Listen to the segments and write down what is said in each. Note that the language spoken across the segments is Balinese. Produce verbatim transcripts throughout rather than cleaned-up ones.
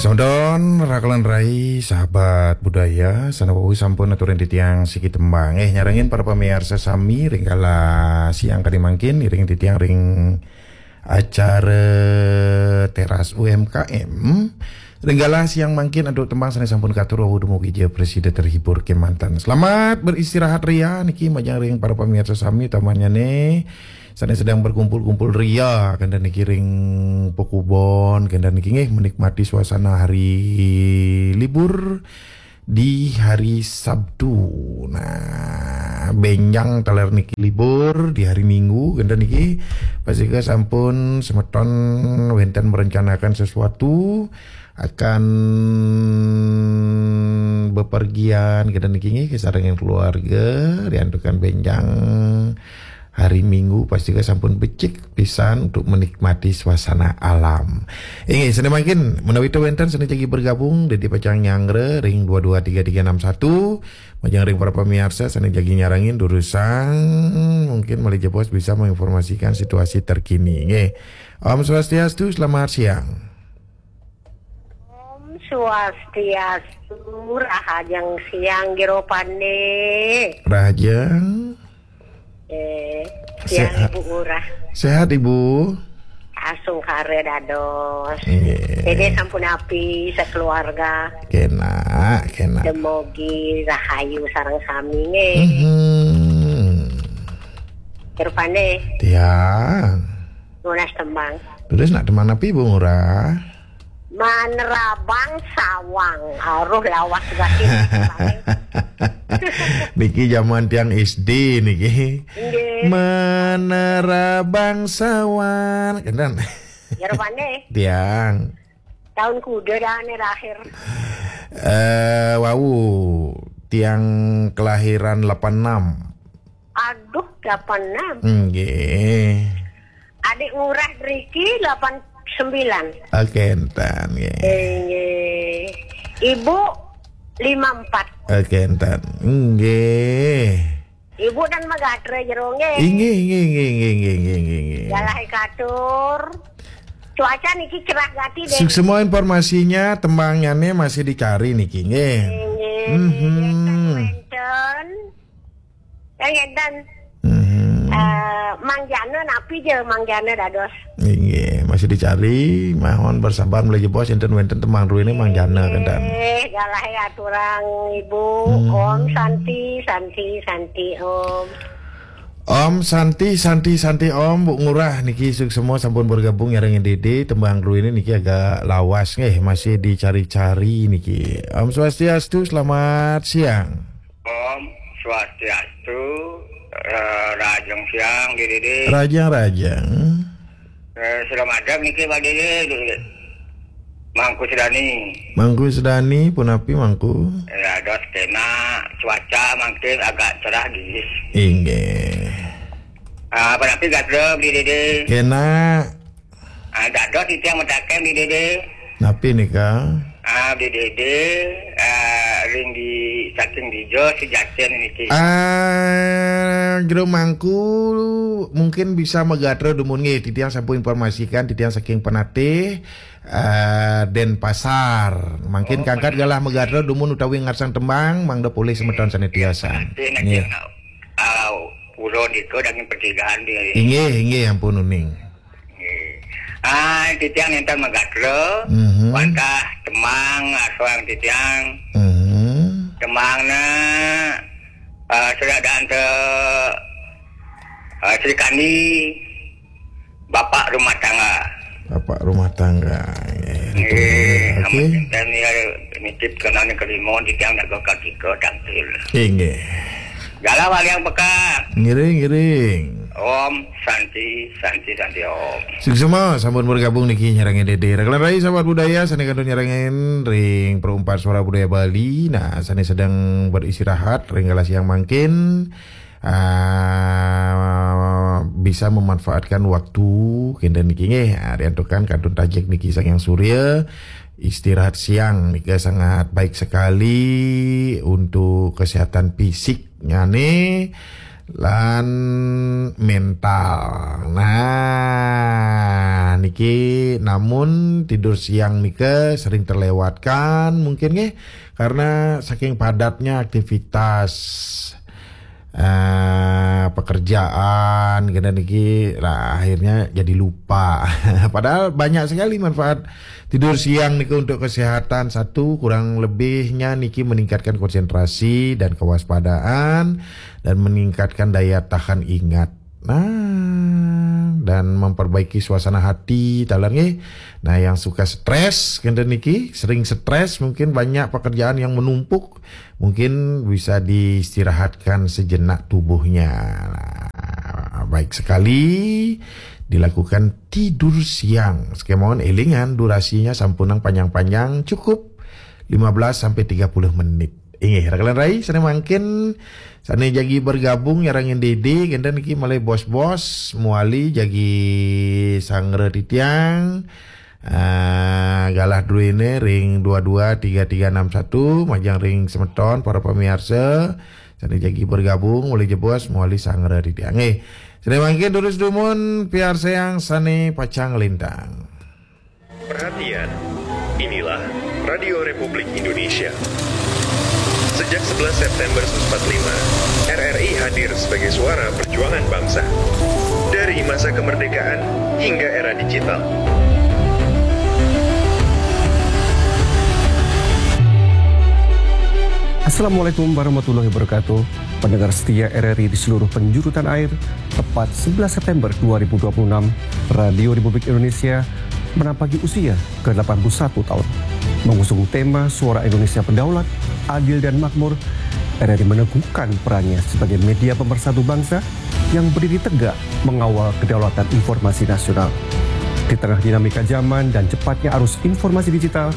Tonton, rakelan rai, sahabat budaya, sané wau sampun aturin titiang siki tembang. Eh, nyarengin para pamiarsa sami ring kala siang kadi mangkin, iring titiang ring acara Teras U M K M. Ring kala siang mangkin antuk tembang sané sampun katur wau dumugi ja prasida terhibur kemanten. Selamat beristirahat ria niki majeng ring para pamiarsa sami tamannyane sané sedang berkumpul-kumpul ria, kenten niki ring pekubon, kenten niki nggih menikmati suasana hari libur di hari Sabtu. Nah, benjang taler niki libur di hari Minggu, kenten niki pastika sampun semeton wenten merencanakan sesuatu akan bepergian, kenten niki nggih, kasarengin keluarga, riantukan benjang hari Minggu, pastika sampun becik pisan untuk menikmati suasana alam. Inggih, sané mangkin menawi wenten sané jagi bergabung, dadi pacang nyanggra ring dua dua tiga tiga enam satu, majeng ring para pamiarsa sané jagi nyarengin durusang, mungkin malih jebos bisa menginformasikan situasi terkini. Nggih. Om Swastiastu, selamat siang. Om Swastiastu, rahajeng siang, Jero Pande. Rahajeng. Eh, siang, Sehat. Ibu Ngurah. Sehat, Ibu? Asung kare dados. Nggih. Dede sampun api sekeluarga. Kena, kena. Demogi rahayu sareng sami nggih. Mhm. Jero Pande. Tiang. Nunas tembang. Terus nak tembang napi, Bu Ngurah? Manerabang sawang. Aruh lawas gatin. Niki zaman tiang S D niki. Nggih. Manerabang sawang. Kenten. Jero Pande. Tiang. Tahun kuda dah nih lahir. Eh, wau, tiang kelahiran delapan enam. Aduh, delapan enam. Nggih. Adik Ngurah Driki delapan sembilan. Oke, entan, nggih. Nggih. Ibu lima empat. Oke, entan. Nggih. Ibu dan magatra jero nggih. Inggih, inggih, inggih, inggih, inggih, inggih, inggih, inggih. Galahe katur. Cuaca niki cerah gati deh. Suksma informasinya, tembangnyane masih dicari niki, nggih. Inggih. Mhm. Wenten. Yang enten. Mhm. Eh, Mang Jana napi je, Mang Jana dados. Inggih, masih dicari, mohon bersabar, malih jebos enten wenten tembang druene Mang Jana kenten. Eh, galahe aturang Ibu. Mhm. Om Santi, Santi, Santi Om. Om Santi, Santi, Santi Om, Bu Ngurah niki suksma sampun bergabung nyarengin Dede, tembang druene niki agak lawas nggih, masih dicari-cari niki. Om Swastiastu, selamat siang. Om Swastiastu, eh, rahajeng siang, Dede. Rahajeng, rahajeng. Eh, selamat niki, Pak Dede, Dede. Mangku Sedani. Mangku Sedani, punapi, Mangku? Ya, dos kena cuaca mangkin agak cerah, gis. Inggih. Ah, punapi gatra, Dede? Kena. Ah, dados titiang mataken, Dede. Napi nika? Ah, Dede, ah, ring di, saking dija Sejaten niki. Ah, Jero Mangku mungkin bisa magatra dumun nggih, titiang sampun informasikan, titiang saking Penatih, ah, Denpasar. Mangkin Oh, kangkat Penatih. Galah magatra dumun utawi ngarsang tembang, mangda polih semeton sané tiosan. Penatih niki, nggih. Ah, pura nika daging pertigaan di. Inggih, inggih, ampun uning. Nggih. Ah, titiang nénten magatra, mhm, wantah tembang, aswang titiang. Mhm. Tembangna, ah, Sri Adanta, ah, Sri Kandi, Bapak Rumah Tangga. Bapak Rumah Tangga. Nggih, nggih, oke. Amat nénten ya, nitip kenane kelima, titiang dago kaki ke tampil. Inggih. Galah waliang peka. Ngiring, ngiring. Om Santi, Santi, Santi Om. Suksma, sampun bergabung niki nyarengin Dede. Rakelan rai sahabat budaya, sané kantun nyarengin ring Perumpat Suara Budaya Bali. Nah, sané sedang beristirahat, ring galah siang mangkin, ah, bisa memanfaatkan waktu, kenten niki nggih. Ah, riantukan kantun tajik niki Sang Hyang Surya. Istirahat siang nika sangat baik sekali untuk kesehatan fisiknyane. lan mental. Nah, niki namun tidur siang nika sering terlewatkan mungkin nggih, karena saking padatnya aktivitas, eh, pekerjaan, kena niki lah akhirnya jadi lupa. Padahal banyak sekali manfaat tidur siang niki untuk kesehatan. Satu, kurang lebihnya niki meningkatkan konsentrasi dan kewaspadaan dan meningkatkan daya tahan ingat. Nah, dan memperbaiki suasana hati, talar nggih. Nah, yang suka stres, kenten niki, sering stres, mungkin banyak pekerjaan yang menumpuk, mungkin bisa diistirahatkan sejenak tubuhnya. Nah, baik sekali dilakukan tidur siang. Sekemon elingan durasinya sampunang panjang-panjang, cukup lima belas sampai tiga puluh menit. Inggih, rakan rai, sane mangkin, sane jagi bergabung nyarangin Dede, kenten niki malih bos-bos, muali jagi sanggra titiang. Ah, galah druene ring dua dua tiga tiga enam satu, majeng ring semeton para pamiarsa, sane jagi bergabung, muali jebos, muali sanggra titiang. Nggih. Sane mangkin durus dumun piarsayang sane pacang lintang. Perhatian, inilah Radio Republik Indonesia. Sejak sebelas September seribu sembilan ratus empat puluh lima, R R I hadir sebagai suara perjuangan bangsa. Dari masa kemerdekaan hingga era digital. Assalamualaikum warahmatullahi wabarakatuh. Pendengar setia R R I di seluruh penjuru tanah air, tepat sebelas September dua ribu dua puluh enam, Radio Republik Indonesia menampaki usia ke delapan puluh satu tahun. Mengusung tema Suara Indonesia Berdaulat, Adil dan Makmur, R R I meneguhkan perannya sebagai media pemersatu bangsa yang berdiri tegak mengawal kedaulatan informasi nasional. Di tengah dinamika zaman dan cepatnya arus informasi digital,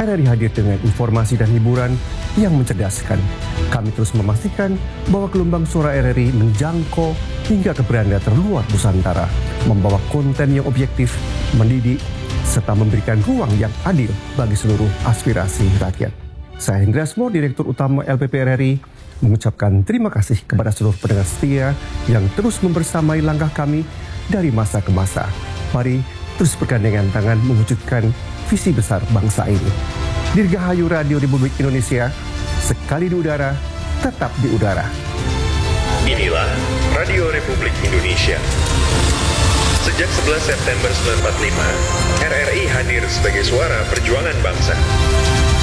R R I hadir dengan informasi dan hiburan yang mencerdaskan. Kami terus memastikan bahwa gelombang suara R R I menjangkau hingga ke beranda terluar Nusantara, membawa konten yang objektif, mendidik, serta memberikan ruang yang adil bagi seluruh aspirasi rakyat. Saya Hendra Asmor, Direktur Utama L P P R R I, mengucapkan terima kasih kepada seluruh pendengar setia yang terus membersamai langkah kami dari masa ke masa. Mari terus bergandengan tangan mewujudkan visi besar bangsa ini. Dirgahayu Radio Republik Indonesia, sekali di udara, tetap di udara. Inilah Radio Republik Indonesia. Sejak sebelas September sembilan empat lima, R R I hadir sebagai suara perjuangan bangsa.